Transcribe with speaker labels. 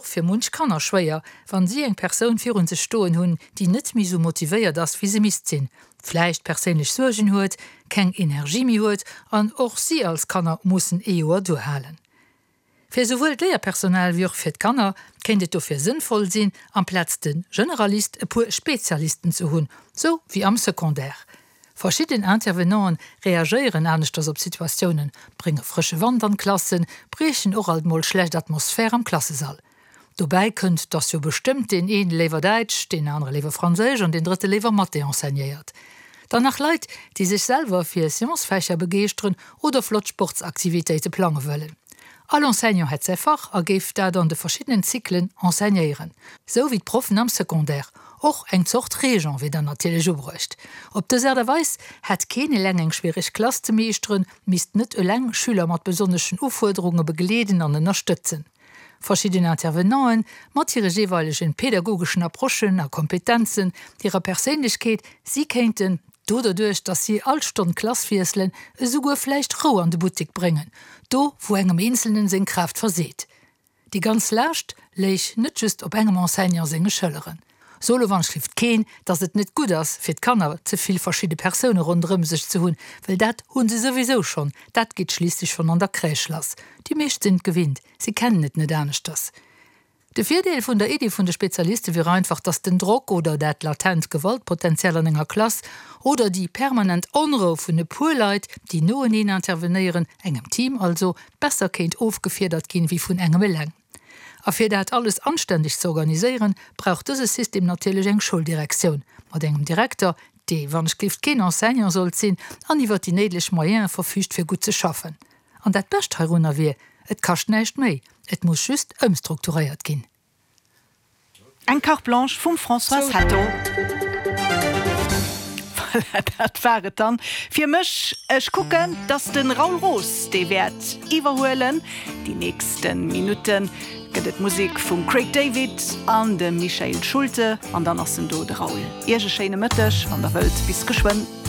Speaker 1: och fir munch Kanner schwéier, wann si eng Persoun virun sech stoen hunn, déi net méi sou motivéiert ass, wéi se misst sinn, vläicht perséinlech Suergen huet, keng Energie méi huet an och si als Kanner mussen ee Joer duerhalen. Fir esouwuel d'Léierpersonal wéi och fir d'Kanner kéint et dofir sënnvoll sinn, amplaz de Generalist e puer Spezialisten ze hunn, sou wéi am Secondaire. Verschidden Intervenanten reagéieren aneschters op Situatiounen, brénge frësche Wand an d'Klassen, briechen och alt mol schlecht Atmosphär am Klassesall. Dobäi kënnt, dass jo bestëmmt deen een léiwer Däitsch, deen anere léiwer Franséisch an deen drëtte léiwer Mathé enseignéiert. Dann nach Leit, déi sech selwer fir Sciences-Fächer begeeschteren oder flott Sportsaktivitéite plange wëllen. All Enseignant hätt säi Fach a géif dat an de verschiddenen Zyklen enseignéieren, sou wéi d'Proffen am Secondaire. Och eng Zort Régent wier dann natierlech ubruecht. Op dës Aart a Weis hätt keen eleng eng schwiereg Klass ze meeschteren, misst net eleng Schüler mat besonneschen Ufuerderunge begleeden an ënnerstëtzen. Verschidden Intervenanten, mat hire jeeweilegen pädagogeschen Approchen a Kompetenzen, hirer Perséinlechkeet, si kéinten, do derduerch dass si all Stonn d'Klass wiesselen, esouguer vläicht Rou an de Buttek bréngen, do wou engem Eenzelnen seng Kraaft verseet. Déi ganz Laascht léich net just op engem Enseignant senge Schëlleren. Solo schrift keen, dass et net gutt ass fir d'Kanner ze vill verschidde Persoune ronderëm sech ze hunn, well dat hu se souwisou schonn, dat geet schliisslech schonn an der Crèche lass. Déi meescht sinn et gewinnt, si kennen et net aneschters. De Virdeel vun der Iddi vun de Spezialiste wier einfach, dass den Drock oder dat latent Gewaltpotenzial an enger Klass oder déi permanent Onrou vun e puer Leit, déi noeneen intervenéieren, engem Team also, besser kéint ofgefiedert ginn, wéi vun engem eleng. A fir dat alles anständeg ze organiséieren, brauch dëse System natierlech eng Schouldirektioun mat engem Direkter, dee wann ech gelift keen Enseignant sollt sinn an iwwert déi néideg Moyene verfügt fir gutt ze schaffen. An dat Bescht heirunner wier, et kascht näischt méi, et muss just ëmstrukturéiert ginn.
Speaker 2: Eng Carte Blanche vum Françoise Hetto. Voilà, dat war et dann fir mech. Ech kucken, dass de Raoul Roos dee wäert iwwerhuelen. Déi nächste Minutte gëtt et Musek vum Craig David an dem Michael Schulte an dann ass en do, de Raoul. Iech e schéine Mëtteg, wann der wëllt. Bis geschwënn.